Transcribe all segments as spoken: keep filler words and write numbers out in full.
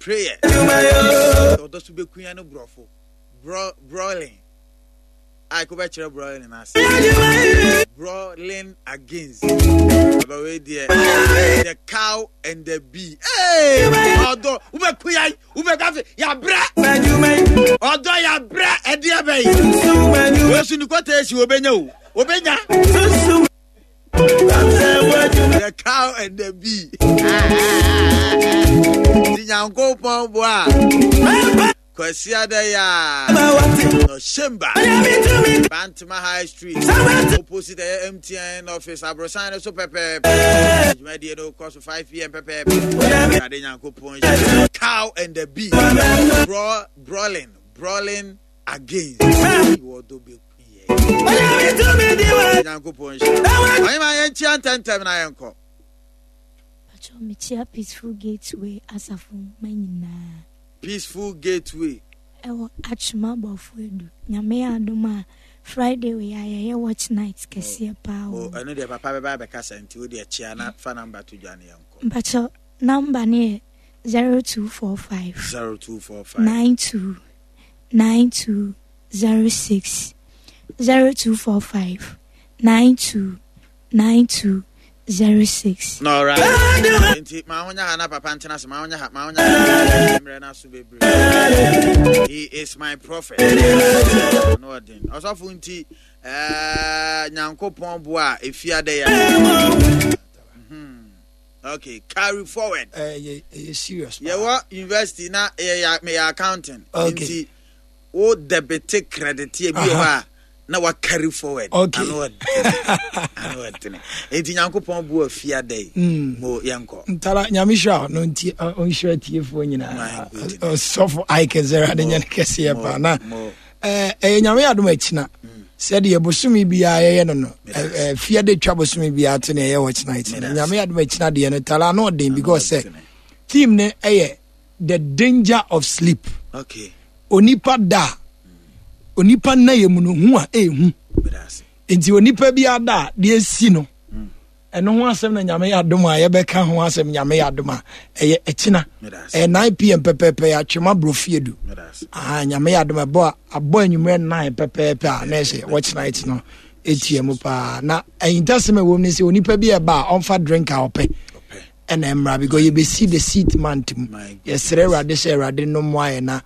Prayer. Ɔdɔ so bɛkuya no borɔfo. Brawling. A wobɛkyerɛ brawling ase. Brawling against. Abawei deɛ, the cow and the bee. Hey! Ɔdɔ, wobɛkuya, wobɛka fe, yabrɛ. Ɔdɔ yabrɛ, ɛdeɛ bɛyi. Wesu ni kɔtɛ esi, wobɛnya o. Wobɛnya. The cow and the bee. Ti Nyankopɔn boa. Kwasi Adaya. No Shemba. Bantama High Street. Opposite the M T N office. Abrosan so pepe. Dwumadie no kɔ so five p m pɛpɛɛpɛ. Awurade Nyankopɔn. Cow and the bee. Bra brawling. Brawling against. Wɔdɔ bɛku yɛ. Nyankopɔn hyɛ. Ɔyɛ yɛnkyia ntɛntɛm na yɛnkɔ. Pacho, mekyia Peaceful Gateway asafo ma nyinaa. Peaceful Gateway. Ɛwɔ Atwoma Abɔfo Edu. Nyame yɛ adom a, Friday wei a yɛyɛ watch night kɛseɛ paa O wɔ. Ɛno deɛ papa bɛba abɛkasa, nti wo deɛ kyia na fa number to dwa ne yɛnkɔ. Mpacho, number ne yɛ zero two four five zero two four five nine two nine two zero six, zero two four five nine two nine two zero six. No, right. Nti ma ho nya ha na papa ntena se ma ho nya ha, ma ho nya ha. Mmerɛ no so bebree. He is my prophet. No ɔden. Ɔsɔfo, nti ɛɛ Nyankopɔn boa a efiada ya. Mhm. Okay, carry forward. Ɛyɛ ɛyɛ serious paa. Yɛwɔ university na yɛyɛ meyɛ accounting. Okay. Nti wo debit, credit bi wɔ hɔ a na wa carry forward. Okay. Ano ɔdene. Ano ɔdene. Nti Nyankopɔn boa fiada yi. Mm. Mo yɛnkɔ. Ntara, Nyame hyira wo no nti ɔ- ɔnhyira tiefoɔ My nyinaa. goodness. Ɔsɔfo Ike sɛ Awurade nyɛ no kɛseɛ Mo- paa na mo. ɛɛ, ɛyɛ Nyame adom akyina sɛdeɛ bosome biara yɛyɛ no no ɛ- ɛ, fiade twa bosome biara to ne ɛyɛ watch night no. Medase. Nyame adom akyina deɛ no, tara na ɔden because sɛ ɔdene. Theme no ɛyɛ the danger of sleep. Okay. Onipa da a, onipa nna yɛ mu no hu a ɛɛhu. Medase. Nti onipa bi ada a, deɛ esi no, ɛno ho asɛm na Nyame yɛ adom a yɛbɛka ho asɛm. Nyame yɛ adom a, ɛyɛ ɛkyina. Medase. Ɛyɛ nine p m pɛpɛɛpɛ, yɛ Atwema Borɔfiedu. Medase. Ah, Nyame yɛ adom, ɛbɔ a abɔ anwummerɛ nine pɛpɛɛpɛ a, na ɛsɛ watch night no ɛtua mu paa. Na ahintasɛm a ɛwɔ mu ne sɛ onipa bi ɛba a, ɔmfa drink a ɔpɛ Ɔpɛ. ɛna mmra, because yɛbɛsi the seat month mu. My Yɛsrɛ Awurade sɛ Awurade no mmoa yɛ na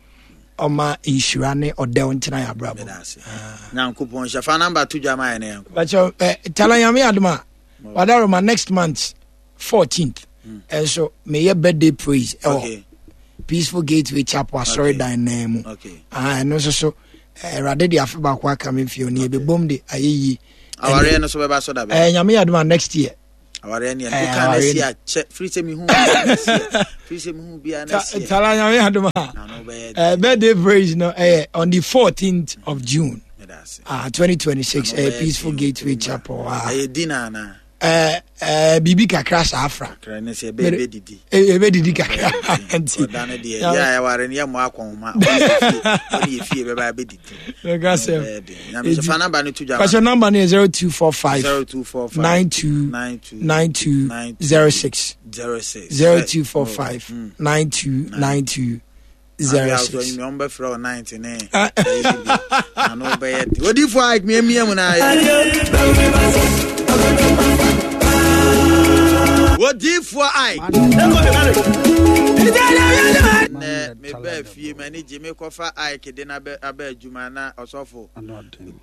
ɔma nhyira ne ɔdɛw ntena yɛ abrabɔ. Medase. Nyankopɔn hyɛ. Fa number to dwa ma yɛ ne yɛnkɔ. Bakyɛ eh, tala, Nyame adom a, wadaroma next month fourteenth ɛnso meyɛ birthday praise ɛwɔ Okay. Peaceful Gateway Chapel asɔredan nan mu. Okay. Ah, ɛno nso so eh, Awurade de afe baako aka me mfie ne yɛbɛbom de ayɛ yie. Awareɛ no so bɛba so da bɛ. Eh, Nyame yɛ adom a, next year. Awareɛ ne Eh, yɛ. Woka na awareɛ si no. akyɛ. Firi sɛ mehu bia na si. Firi sɛ mehu bia na Ta- si. Tala, Nyame yɛ adom a, Ano bɛyɛ. eh, birthday praise no ɛyɛ on the fourteenth of June Medase. ah, twenty twenty-six. Ano eh, bɛyɛ Peaceful den, Gateway kurom a. Chapel, ah. Ɛyɛ dinner anaa? eh, eh, biribi kakra saa afra. Kra ne sɛ ɛbɛyɛ bɛdidi. Ɛbɛdidi kakra nti. Ɔda no deɛ, yɛ a yɛware no yɛmmɔ akɔnhoma. Ɔne yɛ fie bɛba bɛdidi. Mɛka sɛ Ɛbɛyɛ den. Nyame hyɛ. Fa number no to dwa ma. Pastor, number no yɛ zero two four five zero two four five nine two nine two nine two zero six. zero six. zero two four five nine two nine two zero six. Ɔmbɛfrɛ wo ninety ne ano bɛyɛ den. Odifoɔ a miamia mu na ayɛ odifoɔ ai nɛ mebaa fie, m'ani gye. Mekɔfa Ike de no aba aba adwuma na ɔsɔfo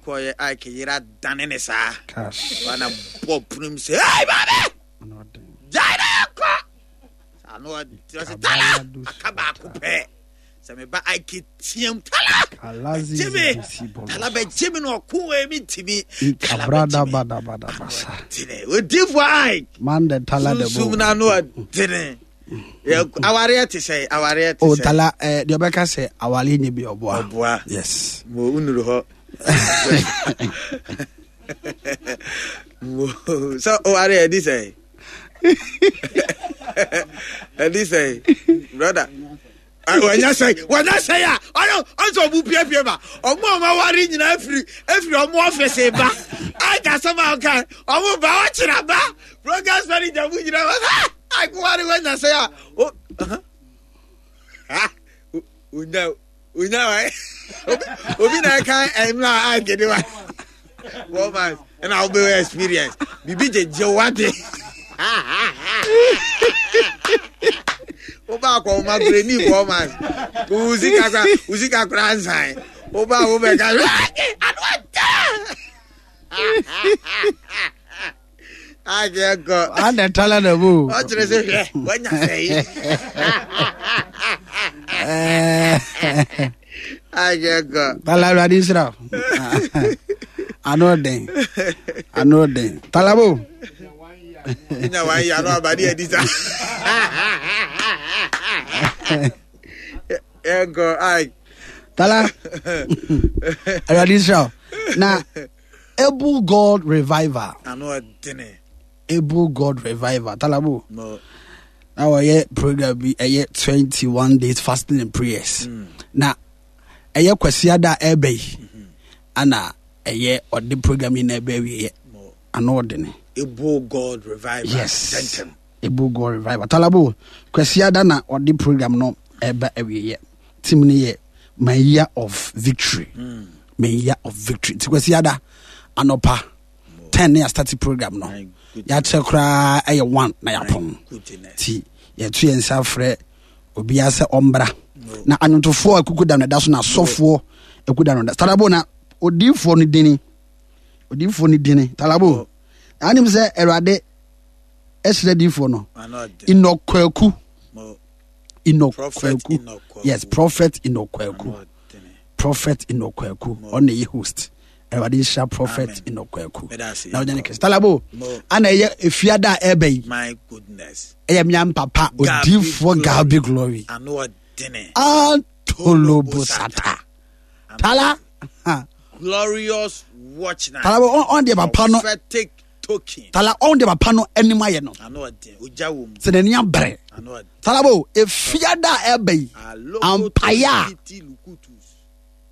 kɔyɛ Ike yera dane ne saa wana bɔ punum sɛ, "Hey, babe, gyae na yɛnkɔ." Ano ɔse, "Tala, aka baako pɛ sɛ meba." Ike team, "Tala, bɛgye me, Tala, bɛgye me." Na ɔko wei mentimi. Tala, bɛgye me. Ɔdene odifoɔ Ike. Man the tala the sunsum na ano ɔdene. Yɛ- awareɛ te sɛ awareɛ te O sɛ tala, eh, deɛ ɔbɛka sɛ awareɛ nyɛ bi, ɔboa. Ɔboa. Yes. Mo wonuru hɔ mo sɛ ɔware ɛdi sɛ ɛdi sɛ brother wɔnyɛ sɛ wɔnyɛ sɛ a ɔyɛ ɔsɛ ɔmo piepie ma ɔmo a ɔmo aware nyinaa efiri efiri ɔmo ɔfisi ba aka asɛm a ɔka ɔmo ba ɔkyerɛ ba progress manager mu nyinaa wɔ ha akoware wɔnyɛ sɛ a o. Onya onya wa obi na ɛka ɛmla a gede wa four months ɛna wobɛwɔ experience biribi gyegye wade woba akɔwoma kora ni four months wo sika kora wo sika kora nsan woba wobɛka ano ata akɛkɔ Ana tala na bo. Ɔkyerɛ sɛ hwɛ wanya sɛ yi akɛkɔ. Tala Awurade nhyira wo. Ano den. Ano den. Tala bo. Nya wanyɛ ano abade adi sa. Yɛnkɔ ai. Tala. Awurade nhyira wo. Na Able God Revival. Ano ɔdene. Able God Revival. Talabo. No. Na wɔyɛ program bi ɛyɛ twenty one days fasting and prayers. Mm. Na ɛyɛ kwasiada a ɛbɛ yi. Mm-hmm. Ana ɛyɛ ɔde program yi na ɛbɛ awieɛ. Ano ɔdene. Able God Revival. Yes. Tentem. Able God Revival. Talabo kwasiada na ɔde program no ɛbɛ awieɛ. Team no yɛ my year of victory. Mm. My year of victory. Nti kwasiada anɔpa ten ne yɛastarte program no. Yɛakyerɛ koraa ɛyɛ one na yɛapɔn. Nti yɛto yɛn nsa frɛ obiara sɛ ɔmbra. Na anwontofoɔ akuku da no ɛda so na asɔfoɔ akuku da no da. Talabo na odiifoɔ no dini. Odiifoɔ no dini. Talabo. Anim sɛ Awurade ɛhyerɛ diifoɔ no. Nnɔkwaku. Enoch Kwaku. Yes, Prophet Enoch Kwaku. Prophet Enoch Kwaku. Ɔno yɛ host. Awurade nhyira Prophet Enoch Kwaku. Na ɔnyɛ ne kɛse. Talabo, ana ɛyɛ efiada a ɛbɛ yi. My goodness. Ɛyɛ mmea mpapa odiifoɔ Gabi Glory. Antolobosata. Tala. Glorious watch night. Talabo, ɔn deɛ papa no. Prophetic token. Tala, ɔn deɛ papa no anim ayɛ no. Sɛ n'ani abere. Talabo, efiada a ɛbɛ yi. Ampaya.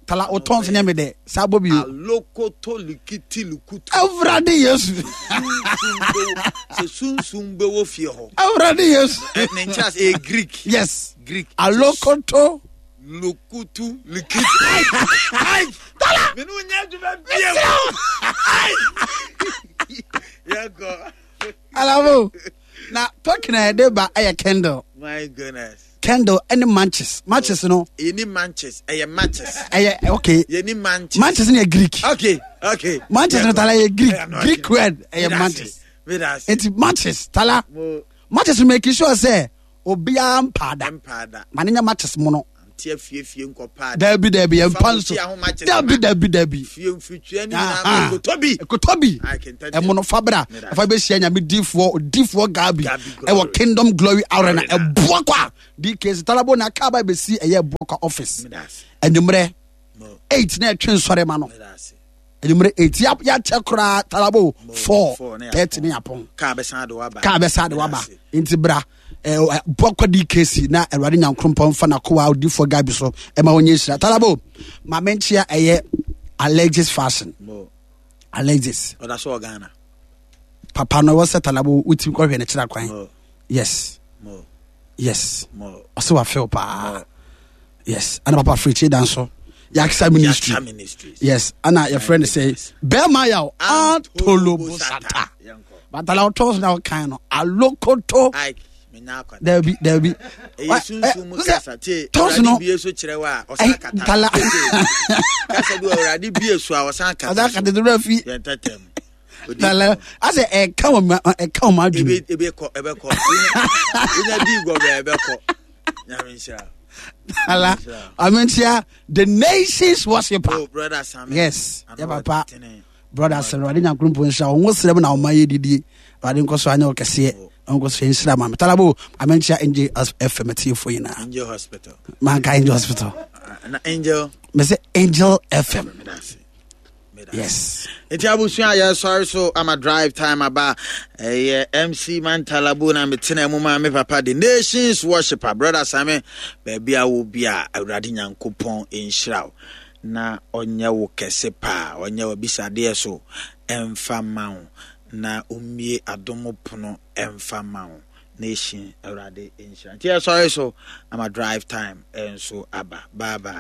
Tala, otɔn so nyɛ mi dɛ. Saa bɔ bi o. Alokoto likiti lukutu. Awurade Yesu. Sɛ sunsun bɛ wɔ fie hɔ. Awurade Yesu. Ne nkyɛn ase ɛyɛ Greek. Yes. Greek. Alokoto. Lukutu likiti. Ai! Tala. Menu nyɛ adwuma bie mu. Ai! Yɛnkɔ. Alabo. Na token a yɛde ba ɛyɛ candle. My goodness. Candle ɛne matches. Matches no. Yɛni matches. Ɛyɛ matches. Ɛyɛ okay. Yɛni matches. Matches no yɛ Greek. Okay okay. Matches no tala yɛ Greek. Greek word ɛyɛ matches. Eti matches tala. Matches no make sure sɛ obiara mpaada. Mpaada. Ma ne nya matches mu no. Nti afiefie nkɔpaada. Dabi dabi yɛn mpa nso. Dabi dabi dabi. Fie mfiritua ni nyinaa kotɔ bi. Kotɔ bi. Ɛmo no fabra. Ɛfa bɛ hyia nyame difoɔ odifoɔ Gabi ɛwɔ Kingdom Glory Arena ɛboa kwa D K C Talabo na kaa ba bɛsi ɛyɛ ɛboa kwa office. Enyimrɛ eight na ɛtwe nsɔre ma no. Enyimrɛ eight yɛakyɛ koraa Talabo four thirty ne yapɔn. Kaa bɛsan de waba. Kaa bɛsan de waba. Nti bra. Bɔkɔ D K C na Awurade Nyankopɔn mfa n'akoa odifoɔ Gabi so ɛma wɔnyɛ nhyira. Talabo ma menkyea ɛyɛ Alexis Fashion. Alexis. Ɔda so wɔ Ghana. Papa no ɛwɔ sɛ Talabo wotumi kɔhwɛ ne kyerɛ kwan. Yes. Yes. Ɔsɛ wafew paa. Yes. Ana papa Frikyi dan so. Yaksa Ministry. Yes. Ana yɛfrɛ no sɛ Bɛrima Yaw Antolobosata. Batala ɔtɔ so na ɔkan no alokoto. Dabi dabi. Ɛyɛ sunsun mu kasa tie. Tɔs no. Awurade bie so kyerɛ wa ɔsan kata. Tala. Kasa bi Awurade bie so a ɔsan kata. Ɔsan kata to fi. Yɛn tɛtɛm. Tala asɛ ɛka wɔn ɛka wɔn adwene. Ebe ebe kɔ ebe kɔ. Wonya di gɔbɛ ebe kɔ. Nyame nhyira. Tala amenkyia the nations worshiper. Oh brother Sam. Yes. Yɛ papa. Brother Sam Awurade Nyankopɔn nhyira wo. Wo srɛ mu na ɔma yɛ didie. Awurade nkɔ so anyɛ wo kɛseɛ. Nkɔ so nhyira ma me. Talabo amenkyia Angel F M tiefo nyinaa. Angel Hospital. Manka Angel Hospital. Na Angel. Me say Angel F M. Yes. Nti abusua yɛ sɔre so ama drive time aba. Ɛyɛ M C Mantalabo na metena mu ma me papa the nations worshipper brother Same baabi a wo bi a Awurade Nyankopɔn nhyira wo na ɔnyɛ wo kɛse paa ɔnyɛ wo bisadeɛ so ɛmfa ma wo na ommie adom pono ɛmfa ma wo Nation. Awurade nhyira. Nti yɛsɔre so ama Drive Time nso aba. Bye bye.